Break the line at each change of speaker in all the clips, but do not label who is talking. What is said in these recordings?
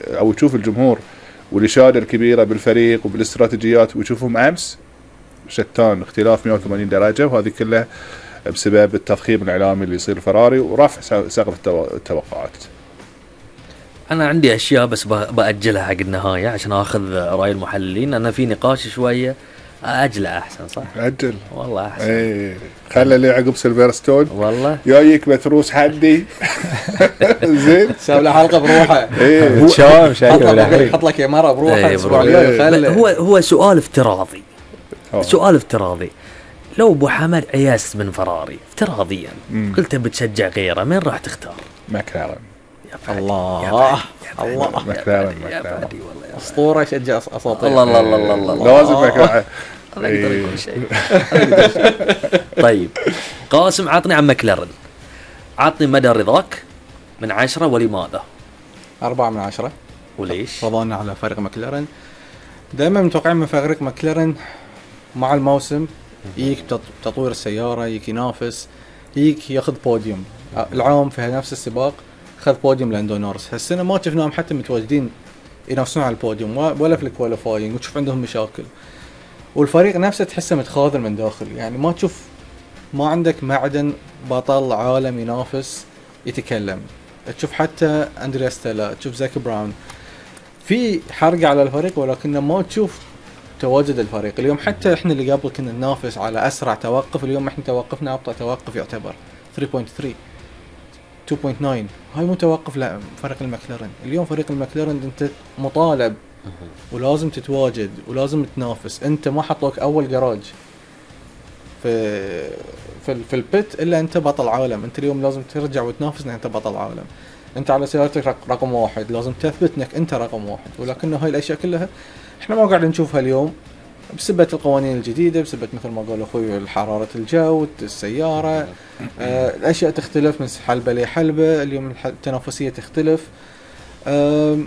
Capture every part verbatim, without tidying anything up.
أو يشوف الجمهور والإشادة الكبيرة بالفريق وبالاستراتيجيات ويشوفهم أمس شتان، اختلاف مئة وثمانين درجة، وهذه كلها بسبب التضخيم الإعلامي اللي يصير فراري ورفع سقف التوقعات.
أنا عندي أشياء بس بأجلها حق النهاية عشان أخذ رأي المحللين. أنا في نقاش شوية أجله أحسن، صح؟
أجل
والله أحسن.
إيه خلى لي عقب سيلفرستون
والله
جايك متروس حدي زين
سوي له حلقة بروحه.
إيه
شام شايف
حط لك إمارة بروحه
إيه
أسبوع
برو.
الجاي خلى.
هو هو سؤال افتراضي.
أوه.
سؤال افتراضي. لو أبو حمد عياس من فراري افتراضيا
مم.
قلت بتشجع غيره، مين راح تختار؟
ماكلارن.
الله الله
ماكلارن
يا
ماكلارن
فادي والله يا
أسطورة يشجع أساطير.
الله الله الله الله الله
لازم ماكلارن.
الله يقدر يكون شيء. طيب قاسم عطني عن ماكلارن، عطني مدى رضاك من عشرة ولماذا؟
أربعة من عشرة.
وليش؟
رضانا على فريق ماكلارن. دائما متوقعين من فريق ماكلارن مع الموسم يجيك تطوير السيارة، يجيك ينافس، يجيك ياخذ بوديوم. العام في نفس السباق خذ بوديوم لاندو نورس. هالسنة ما شفناهم حتى متواجدين ينافسون على البوديوم ولا في الكواليفاينج، وتشوف عندهم مشاكل. والفريق نفسه تحسه متخاذل من داخل، يعني ما تشوف، ما عندك معدن بطل عالم ينافس يتكلم. تشوف حتى أندريا ستيلا، تشوف زاك براون في حرقة على الفريق، ولكن ما تشوف تواجد الفريق. اليوم حتى احنا اللي قبل كنا ننافس على أسرع توقف، اليوم احنا توقفنا أبطأ توقف يعتبر ثلاثة فاصلة ثلاثة اثنين فاصلة تسعة. هاي مو توقف لا فريق المكلارن. اليوم فريق المكلارن انت مطالب ولازم تتواجد ولازم تنافس. انت ما حطوك اول جراج في في في البيت الا انت بطل عالم. انت اليوم لازم ترجع وتنافس انك انت بطل عالم. انت على سيارتك رقم واحد، لازم تثبت انك انت رقم واحد. ولكن هاي الاشياء كلها احنا ما قاعد نشوفها اليوم بسبب القوانين الجديدة، بسبب مثل ما قال اخوي حرارة الجو، السيارة، آه الاشياء تختلف من حلبة لحلبة. اليوم التنافسية تختلف. آه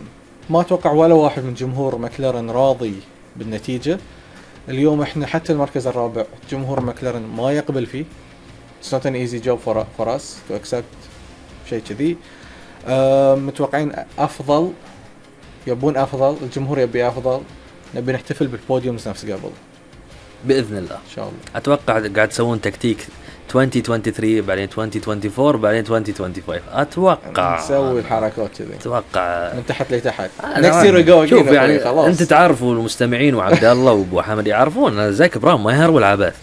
ما اتوقع ولا واحد من جمهور ماكلارن راضي بالنتيجة. اليوم احنا حتى المركز الرابع جمهور ماكلارن ما يقبل فيه. It's not an easy job for, for us to accept شيء كذي. آه متوقعين افضل، يبون افضل، الجمهور يبي افضل، نبي نحتفل بالبوديومز نفس قبل
بإذن الله
إن شاء الله.
أتوقع قاعد تسوون تكتيك ألفين واثنين وعشرين بعدين ألفين وأربعة وعشرين بعدين ألفين وخمسة وعشرين. أتوقع
نسوي الحركات كذي
أتوقع
من تحت لتحت.
next year we go. شوف يعني خلاص. أنت تعرفوا المستمعين وعبد الله وأبو حمد يعرفون زاك براون ما يهرب العبث.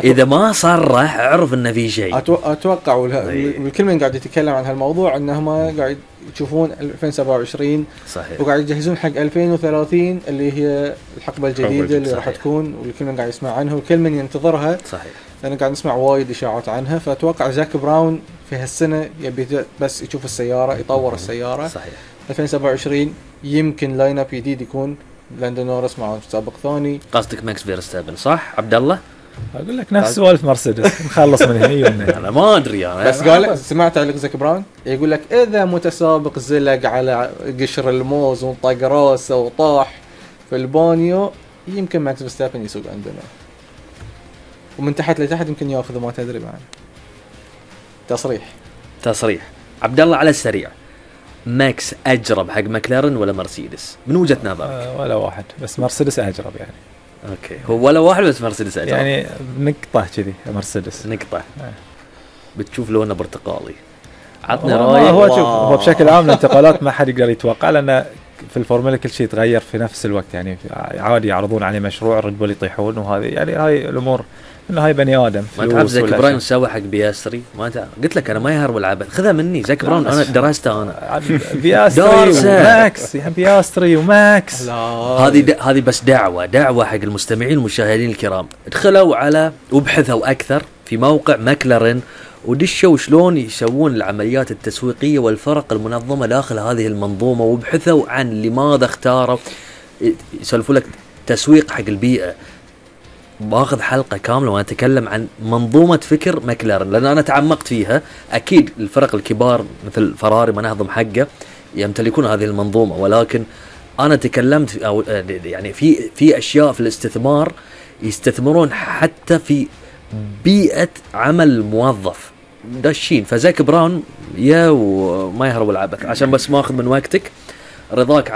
إذا ما صرح اعرف إنه في شيء.
أتوقع والكل من قاعد يتكلم عن هالموضوع إنهم قاعد يشوفون ألفين وسبعة وعشرين
صحيح،
وقاعد يجهزون حق ألفين وثلاثين اللي هي الحقبة الجديدة اللي راح تكون، والكل من قاعد يسمع عنها والكل من ينتظرها.
صحيح،
لأن قاعد نسمع وايد إشاعات عنها. فأتوقع زاك براون في هالسنة يبي بس يشوف السيارة، يطور السيارة.
صحيح.
ألفين وسبعة وعشرين يمكن لاين اب جديد يكون لاندو نورس مع سابق ثاني.
قصدك ماكس فيرستابن صح عبد الله؟
اقول لك نفس سوالف مرسيدس نخلص من هنا.
انا ما ادري انا
بس قال سمعت على زاك براون يقول لك اذا متسابق زلق على قشر الموز وطق راسه وطاح في البانيو يمكن ماكس فيرستابن يسوق عندنا، ومن تحت لتحت يمكن ياخذ ما تدري معنا. تصريح
تصريح عبد الله على السريع، ماكس اجرب حق ماكلارن ولا مرسيدس من وجهة نظرك؟
أه ولا واحد، بس مرسيدس اجرب يعني.
اوكي هو ولا واحد بس مرسيدس اجرب
يعني نقطة كذي مرسيدس
نقطة. أه. بتشوف لونه برتقالي.
عطنا رأي. هو شوف هو بشكل عام الانتقالات ما حد يقدر يتوقع، لأن في الفورمولا كل شيء يتغير في نفس الوقت. يعني عادي يعرضون عليه مشروع ريد بول يطيحون، وهذه يعني هاي الأمور إنه هاي بني آدم.
ما تعرف زاك براون سوى حق بياستري؟ ما تعرف، قلت لك أنا ما يهرب العبث، خذها مني. زاك براون أنا درسته أنا.
بياستري وماكس يعني بياستري وماكس.
هذه هذه بس دعوة دعوة حق المستمعين المشاهدين الكرام، ادخلوا على وابحثوا أكثر في موقع ماكلارن ودشوا شلون يسوون العمليات التسويقية والفرق المنظمة داخل هذه المنظومة، وابحثوا عن لماذا اختاروا، يسولفوا لك تسويق حق البيئة. باخذ حلقة كاملة وانا اتكلم عن منظومة فكر ماكلارن لان انا تعمقت فيها. اكيد الفرق الكبار مثل فراري مناظم حقه يمتلكون هذه المنظومة، ولكن انا تكلمت او يعني في في اشياء في الاستثمار يستثمرون حتى في بيئة عمل الموظف داشين. فزاك براون يا وما يهرب العبث. عشان بس ما اخذ من وقتك، رضاك عن